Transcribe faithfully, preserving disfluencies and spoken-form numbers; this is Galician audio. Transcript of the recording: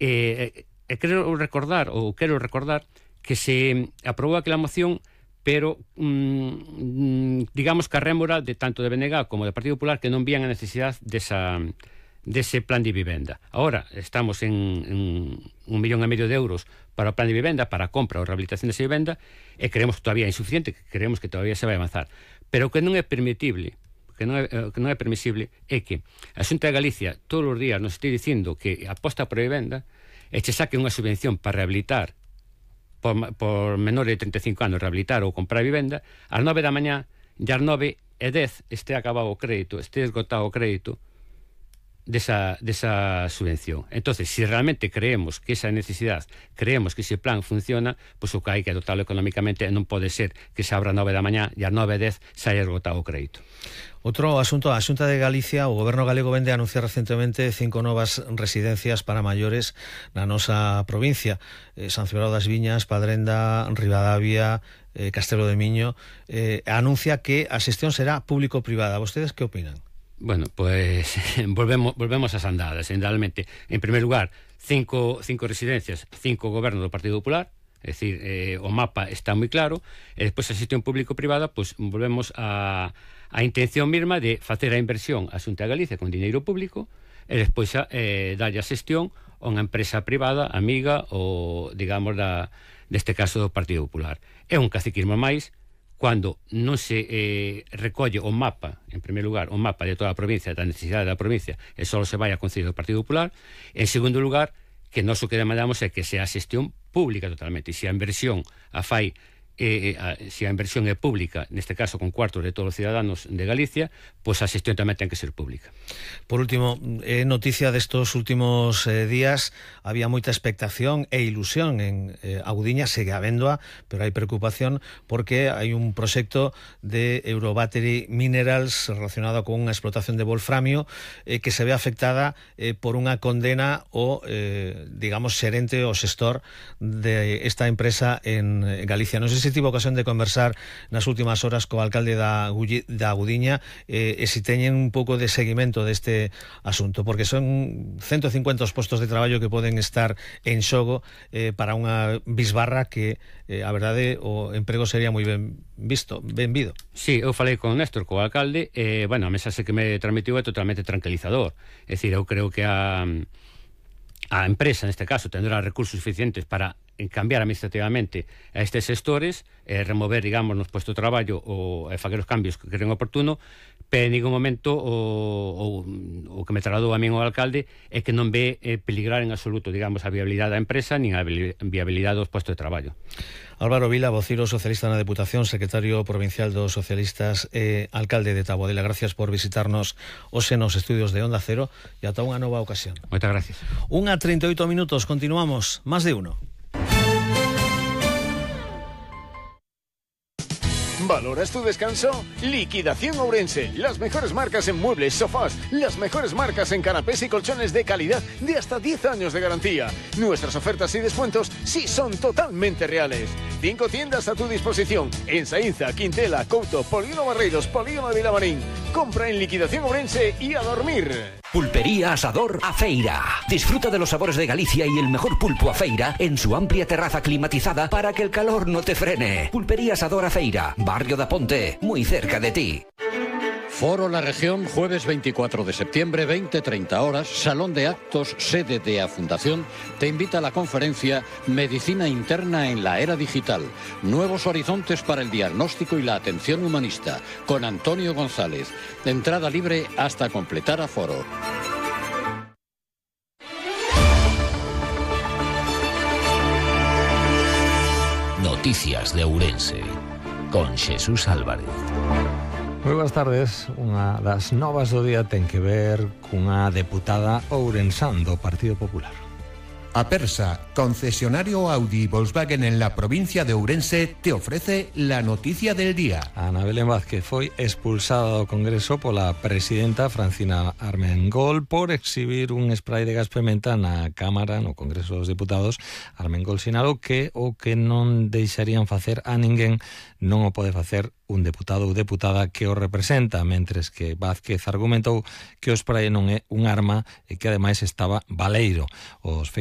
E, e quero recordar, ou quero recordar, que se aprobou aquela moción, pero mmm, digamos que a rémora de tanto de B N G como do Partido Popular, que non vían a necesidade desa, dese plan de vivenda. Ahora estamos en, en un millón e medio de euros para o plan de vivenda, para a compra ou rehabilitación desa vivenda, e creemos que todavía é insuficiente, que creemos que todavía se vai avanzar. Pero que non é permitible, que non é, que non é permisible, é que a Xunta de Galicia todos os días nos este dicindo que aposta por a vivenda e che saque unha subvención para rehabilitar por, por menores de treinta e cinco anos, rehabilitar ou comprar vivenda, ás nove da mañá, e ás nove e dez este acabado o crédito, este esgotado o crédito desa, desa subvención. Entonces, si realmente creemos que esa necesidade, creemos que ese plan funciona, pois o que hai que adoptarlo económicamente, non pode ser que se abra a nove da mañá e ás nove e dez se haya esgotado o crédito. Outro asunto, a Xunta de Galicia, o Goberno galego vende a anunciar recentemente cinco novas residencias para maiores na nosa provincia. Eh, San Cibrao das Viñas, Padrenda, Ribadavia, eh, Castelo de Miño. Eh, anuncia que a xestión será público-privada. ¿Vostedes que opinan? Bueno, pues volvemos, volvemos ás andadas, generalmente. En primer lugar, cinco, cinco residencias, cinco gobernos do Partido Popular, é dicir, eh, o mapa está moi claro, e despois a xestión público-privada, pues volvemos a... a intención mesma de facer a inversión a Xunta de Galicia con diñeiro público e despois a, eh, darlle a xestión a unha empresa privada, amiga ou, digamos, da, deste caso do Partido Popular. É un caciquismo máis cando non se eh, recolle o mapa, en primer lugar, o mapa de toda a provincia, da necesidade da provincia, e só se vai a Concello do Partido Popular. En segundo lugar, que nós o que demandamos é que sea a xestión pública totalmente, e se a inversión a fai Eh, a, se a inversión é pública, neste caso con cuartos de todos os ciudadanos de Galicia, pois pues a xestión tamén ten que ser pública. Por último, eh, noticia destos últimos eh, días, había moita expectación e ilusión en eh, Agudiña, segue habéndoa, pero hai preocupación porque hai un proxecto de Eurobattery Minerals relacionado con unha explotación de wolframio eh, que se ve afectada eh, por unha condena o, eh, digamos, xerente ou xestor de esta empresa en Galicia. Non sei se tivo ocasión de conversar nas últimas horas co alcalde da, da Agudiña eh, e se teñen un pouco de seguimento deste asunto, porque son ciento cincuenta os postos de traballo que poden estar en xogo eh, para unha bisbarra que eh, a verdade o emprego sería moi ben visto, ben vido. Sí, eu falei con Néstor, co alcalde, e, eh, bueno, a mensaxe que me transmitiu é totalmente tranquilizador. É dicir, eu creo que a, a empresa, neste caso, tendrá recursos suficientes para en cambiar administrativamente a estes sectores, eh, remover, digamos, nos puestos de traballo ou eh, facer os cambios que creen oportuno, pero en ningún momento o, o, o que me trasladou a min o alcalde é que non ve eh, peligrar en absoluto, digamos, a viabilidade da empresa nin a viabilidade dos puestos de traballo. Álvaro Vila, vociro socialista na Deputación, secretario provincial dos socialistas e eh, alcalde de Taboadela, gracias por visitarnos hoxe nos estudios de Onda Cero e ata unha nova ocasión. Moitas gracias. Unha treinta e oito minutos, continuamos, más de uno. ¿Valoras tu descanso? Liquidación Ourense. Las mejores marcas en muebles, sofás, las mejores marcas en canapés y colchones de calidad de hasta diez años de garantía. Nuestras ofertas y descuentos sí son totalmente reales. Cinco tiendas a tu disposición en Saínza, Quintela, Couto, Polígono Barreiros, Polígono de Vilamarín. Compra en Liquidación Ourense y a dormir. Pulpería Asador A Feira. Disfruta de los sabores de Galicia y el mejor pulpo a feira en su amplia terraza climatizada para que el calor no te frene. Pulpería Asador A Feira, Barrio da Ponte, muy cerca de ti. Foro La Región, jueves veinticuatro de septiembre, veinte treinta horas, Salón de Actos, sede de A Fundación, te invita a la conferencia Medicina Interna en la Era Digital, nuevos horizontes para el diagnóstico y la atención humanista, con Antonio González. Entrada libre hasta completar aforo. Noticias de Ourense, con Xesús Álvarez. Moi boas tardes. Unha das novas do día ten que ver cunha deputada ourensán do Partido Popular. Apersa, concesionario Audi y Volkswagen en la provincia de Ourense, te ofrece la noticia del día. Ana Belén Vázquez foi expulsada do Congreso pola presidenta Francina Armengol por exhibir un spray de gas pimenta na Cámara, no Congreso dos Diputados. Armengol sinalou que o que non deixarían facer a ninguén non o pode facer un deputado ou deputada que o representa, mentres que Vázquez argumentou que o spray non é un arma e que ademais estaba baleiro. Os